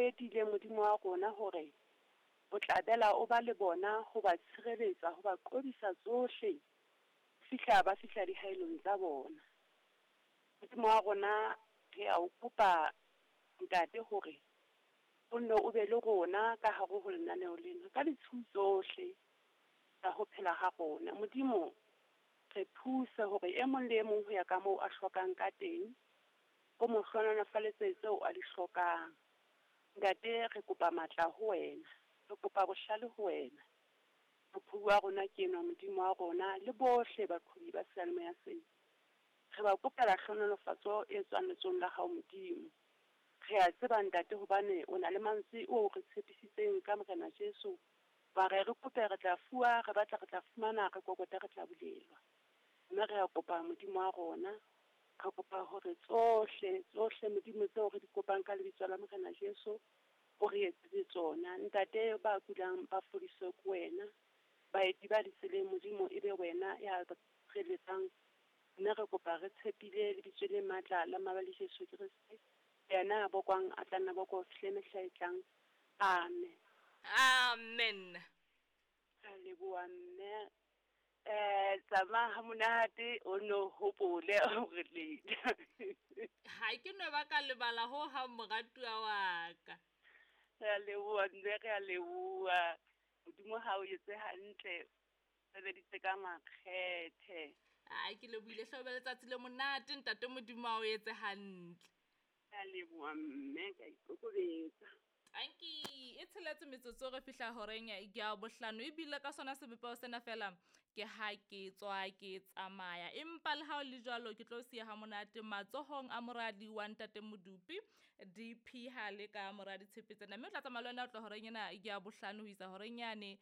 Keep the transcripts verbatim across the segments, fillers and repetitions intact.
e tiileng Modimo wa rona hore o tla bela o ba le bona ho ba tshireletsa, ho ba qobisa tsohle fihla ba fihla dihaelong tsa bona. Modimo wa rona re a o kopa ntate hore o nne o be le rona ka hare ho lenaneo lena ka ditshiu tsohle tsa ho phela ha rona. Modimo re thuse hore e mong le e mong ho ya ka moo a hlokang ka teng, o mo hlohonolofaletse tseo a di hlokang. Ntate re kopa matla ho wena, re kopa bohlale ho wena. Moqhobi wa rona ke enwa Modimo wa rona le bohle baqhobi ba seyalemoya sena. Re ba kopela hlohonolofatso e tswang letsohong la hao Modimo. Re a tseba ntate hobane o na le mantswe o re tshepisitseng ka Morena Jesu. Wa re re kope re tla fuwa, re batla re tla fumana, re kokote re tla bulelwa. Mme re a kopa Modimo wa rona, re kopa hore tsohle, tsohle Modimo tseo re di kopang ka lebitso la Morena Jesu, o re etsetse tsona. Ntate ba kulang ba fodiswe ke wena, baeti ba ditseleng Modimo e be wena ya ba tshireletsang. Mme re kopa re tshepile lebitso le matla la Mabale Jesu Kreste, yena a bokwang a tla nna bokwa ho fihle mehla e tlang. Amen. Amen. Re a leboha mme. Eh, tsamaya ha monate o no hopole hore le. Ha ke no ba ka lebala ho hang moratuwa wa ka. Re a leboha mme, re a leboha. Modimo ha o etse hantle, sebeditse ka makgethe. Ai, ke lebohile hle, o be letsatsi le monate ntate Modimo a o etse hantle. Re a leboha mme, ka ikokobetsa. Tanki, e tsheletse metsotso re fihla horeng ya bohlano, ebile ka sona sebopeho sena fela ke ha ke tswa ke tsamaya. Empa le ha ho le jwalo ke tlo siya ha monate matsohong a moradi wa ntate Modupi, D P ha le ka moradi Tshepe tsena. Mme o tla tsamaya le wena o tla horeng ena ya bohlano ho isa horeng yane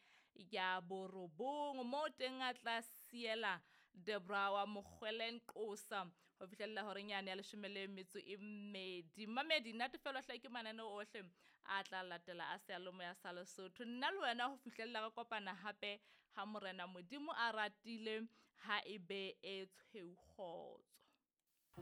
ya borobong, moo teng a tla siela Debra wa Mokgweleng Qosa ho fihlella horeng yane ya leshome le metso e mmedi. Mamedi, natefelwa hle ke mananeo ohle a tla latela a seyalemoya sa Lesotho. Nna le wena ho fihlella re kopana hape ha Morena Modimo a ratile, ha e be e tshweu kgotso.